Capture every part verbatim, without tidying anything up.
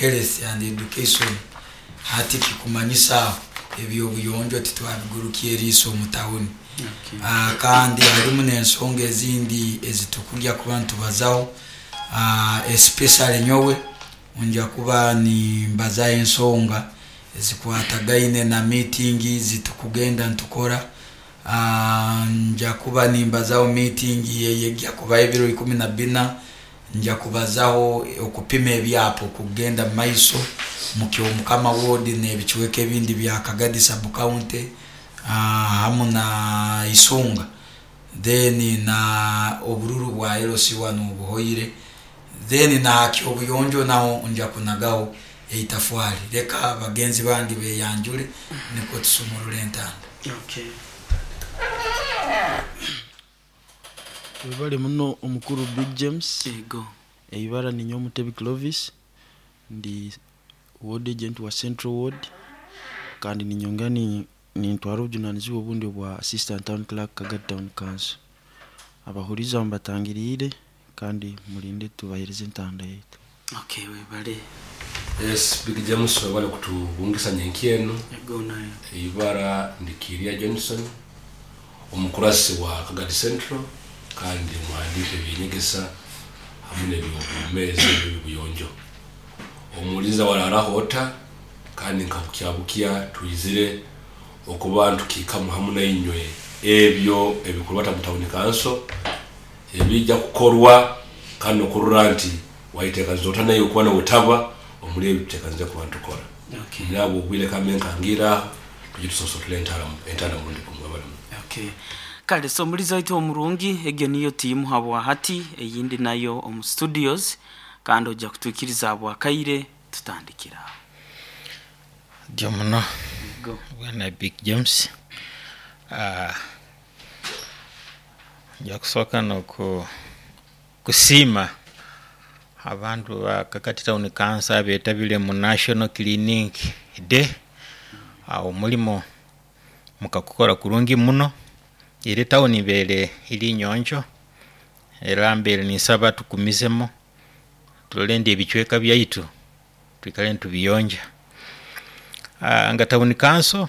Health and education. Hati kikumanyisa ebyobuyonjo titwabigurukya eriiso omu tawuni. Okay. Ah, kandi harimu n'ensonga ezindi ezitukulya kuba nitubazaho, ah, especially nyowe nja kuba nimbazaho ensonga ezikwatagaine na meeting zitukugenda nitukora. Ah, nja kuba nimbazaho meeting eyejja kubaho ebiro ikumi na bina. Nja kubazaho okupima ebyapa okugenda mu maiso mukyomukama ward n'ebicweka ebindi bya Kagadi sub county, hamu na Isunga, then na obururu bwa L C one obuhoire, then na kyobuyonjo naho nja kunagaho eitafwali. Leka bagenzi bange beyanjule nikwo tusumurule entanda. Okay. Webale muno, omukuru Big James. Ego. Eibara ninyowe Mutebi Clovis, ndi ward agent wa Central Ward, kandi ninyongera ni- nintwara obujunanizibwa obundi obwa assistant town clerk, Kagadi Town Council. Abahuriza mbatangiriire, kandi mulinde tubahereze entanda yaitu. Okay, webale. Yes, Big James, webale kutubungisa nyenki eno. Ego nayo. Eibara ndikiria Johnson, omukurasi wa Kagadi Central, kandi muhandiika ebyenyegesa hamu n'ebyobumezi ebyobuyonjo. Omuliza wararaho ota, kandi nkabukya twizire okuba ntukiikamu hamu nainywe ebyo ebikurwata mu town council ebijja kukorwa, kandi okurora nti waiteekaniza ota naye okuba nowetaba omuli ebyo tuteekanize kuba ntukora. Okay. Nabo obwire kambe nkangira aho, tujye tusosotule entara entanda murundi gumwe balimu. Okay. Kale, so omulizi waitu omurungi, egyo niyo tiimu habwa hati. Eyindi nayo omu studios, kandi ojja kutwikiriza habwakaire tutandikira aho. Dio muno. Ego. Bwana Big James, uh, nja kusooka noku kusiima abantu ba Kagadi Town Council abetabire mu National Cleaning Day. Awo omulimo mukakukora kurungi muno, eri tawuni ibeere eri nyonjo, era mbeere ninsaba tukumizemu turole ndi ebicweka byaitu twikale nitubiyonja. uh, nga town council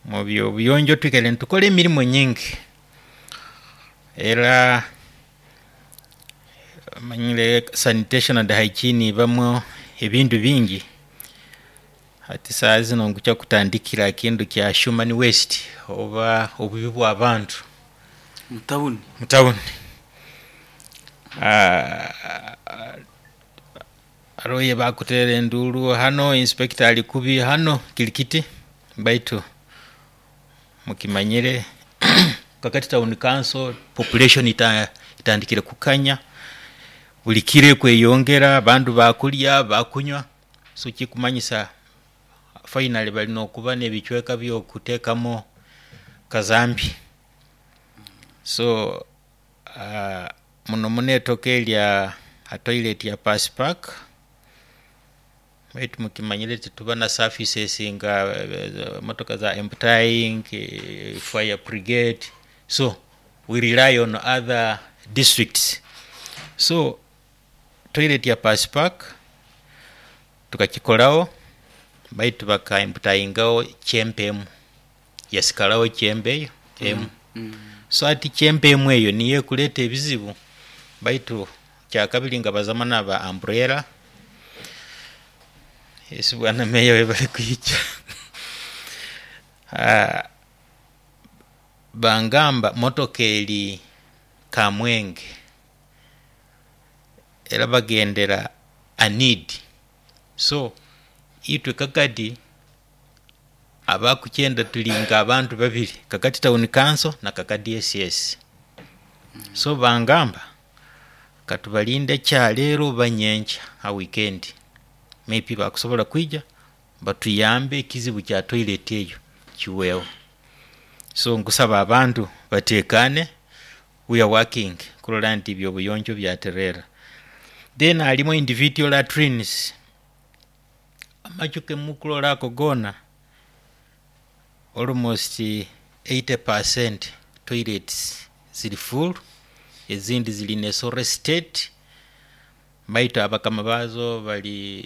mu byobuyonjo twikale nitukora emirimu nyingi, era manyire sanitation and hygiene ibamu ebintu bingi. Hati saa zino nkukya kutandikira kintu kya human waste oba obubi bw'abantu mutawuni. Mutawuni. Ah, aroye bakutera enduru hano, inspector ali kubi hano kilikiti, baitu mukimanyire Kagadi Town Council population ita, itandikire kukanya buli kire kweyongera, bandu bakulya, bakunywa, so kikumanyisa finally balina okuba n'ebicweka by'okuteekamu kazambi. So uh, muno muno etoka erya a toilet ya Pass Park, baitu mukimanyire tituba na services nga eh, motoka za emptying, eh, fire brigade, so we rely on other districts. So toilet ya Pass Park tukakikoraho, baitu bakaemptyingaho chamber emu, yasikalaho chamber eyo emu. Mm. So ati chamber emu eyo niyo ekuleta ebizibu. Baitu kyakabiri nga bazama naba umbrella esi, bwana meya, webale kwija. Ah, bangamba motoka eri Kamwenge, era bagendera anid. So itwe Kagadi abakukyenda tulinga abantu babiri, Kagadi Town Council na Kagadi S S. So bangamba katubalinde kyaleero banyenkya ha weekend, maybe bakusobola kwija batuyambe ekizibu kya toilet eyo kiweewo. So nkusaba abantu batekane, we are working kulola nti ebyobuyonjo byaterera. Then halimu individual latrines, amachu kemukulola ako gona, almost eighty percent toilets ziri full, ezindi ziri in a sorry state, baitu abakama bazo bali